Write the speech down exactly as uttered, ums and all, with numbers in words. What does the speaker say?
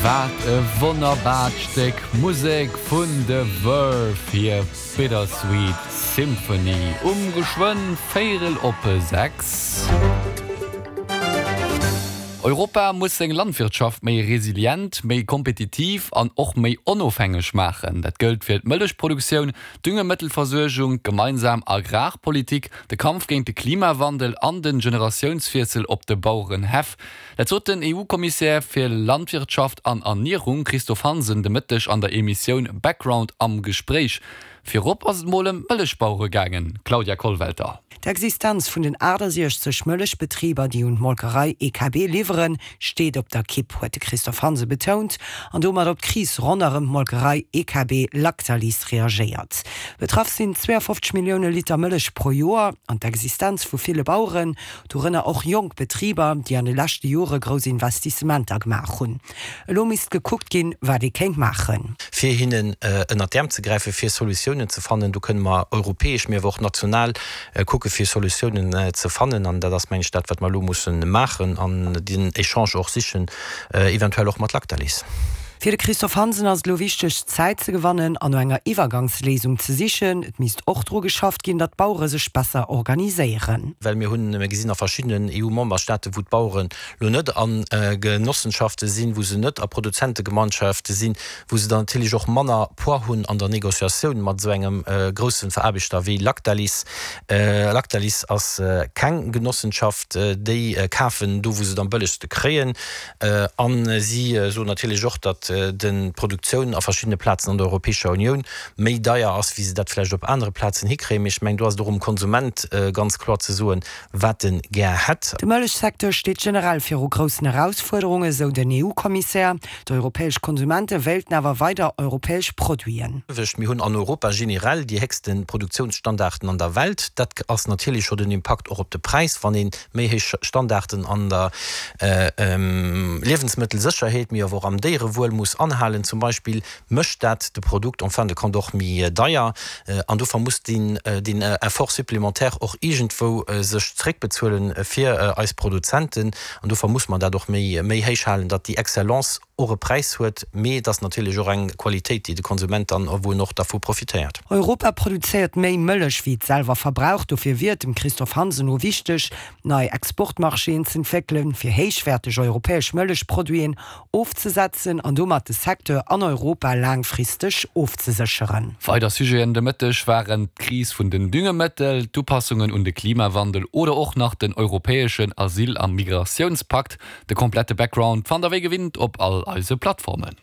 Wat e wonnerbart Stéck Musek vun The Verve, hir Bittersweet Symphony um geschwënn véierel op sechs. Europa muss seng Landwirtschaft méi resilient, méi kompetitiv an och méi onofhängeg maachen. Dat gëllt fir d'Mëllechproduktioun, Düngemëttelversuergung, gemeinsam Agrarpolitik, de Kampf géint de Klimawandel an den Generatiounswiessel op de Bauerenhäff. Dat sot den EU-Kommissär fir Landwirtschaft an Ernierung Christophe Hansen de Mëtteg an der Emissioun Background am Gespréich. Virop ass et mol ëm d'Mëllechbauere gaangen, Claudia Kollwelter. D'Existenz vun den achtasiechzeg Mëllechbetriber, déi un d'Molkerei E K B liwweren, steet op der Kipp, huet de Christophe Hansen betount an domat op d'Kris ronderëm d'Molkerei E K B Lactalis reagéiert. Betraff sinn zweeafofzeg Millioune Liter Mëllech pro Joer an d'Existenz vu ville Baueren, dorënner och jonk Betriber, déi an de leschte Jore grouss Investissementer gemaach hunn. Elo misst gekuckt ginn, wat ee kéint maachen. Fir hinnen ënnert d'Äerm ze gräifen, fir Solutiounen ze fannen. Do kënne mer europäesch, mee awer och national kucke fir Solutiounen ze fannen. An dat ass, meng ech, dat, wat mer elo mussen maachen an den Echange och sichen, eventuell och mat Lactalis. Fir de Christophe Hansen ass et elo wichteg, Zäit ze gewannen an no enger Iwwergangsléisung ze sichen. Et misst och dru geschafft ginn, datt d'Bauere sech besser organiséieren. Well mir hunn, mir gesinn a verschiddenen E U-Memberstaate wou d'Baueren elo net a Genossenschafte sinn, wou se net a Produzentegemeinschafte sinn, wou se dann natierlech och manner Poids hunn an der Négociatioun mat esou engem grousse Veraarbechter wéi Lactalis. Lactalis ass keng Genossenschaft, déi kafen do wou se et am bëllegste kréien. A si soen natierlech och, datt d'Produktioun a verschiddene Plazen an der Europäescher Unioun méi deier ass, wéi se dat vläicht op anere Plazen hikréien. Mee ech mengen, do ass et och um Konsument ganz kloer ze soen, wat en gär hätt. De Mëllechsecteur steet generell viru groussen Erausfuerderungen, esou den E U-Kommissär. D'europäesch Konsumente wéilten awer weider europäesch Produiten. Mir hunn an Europa generell déi héchste Produktiounsstandarden an der Welt. Dat ass natierlech scho den Impakt och op de Präis, wann ee méi héich Standarden an der Liewensmëttelsécherheet, mee awer och am Déierewuel muss anhalen zum Beispill, mécht dat de Produkt en fin de compte och méi deier. An dofir muss deen Effort supplémentaire och iergendwou sech zréckbezuelen fir eis Produzenten. An dofir muss mer dat och méi héich halen, datt déi Excellence och e Präis huet, mee et ass natierlech och eng Qualitéit, déi de Konsument dann, wou en och dervu profitéiert. Europa produzéiert méi Mëllech wéi et selwer verbraucht. Dofir wier et dem Christophe Hansen no wichteg, nei Exportmarchéen z'entwéckelen, fir héichwäerteg europäesch Mëllechproduiten ofzesetzen an domat de Secteur an Europa laangfristeg ofzesécheren. Weider Sujeten de Mëtteg waren d'Kris vun den Düngemëttel, d'Upassungen un de Klimawandel oder och nach den europäeschen Asyl a Migratiounspakt. De komplette Background fannt der wéi gewinnt op all eise Plattformen.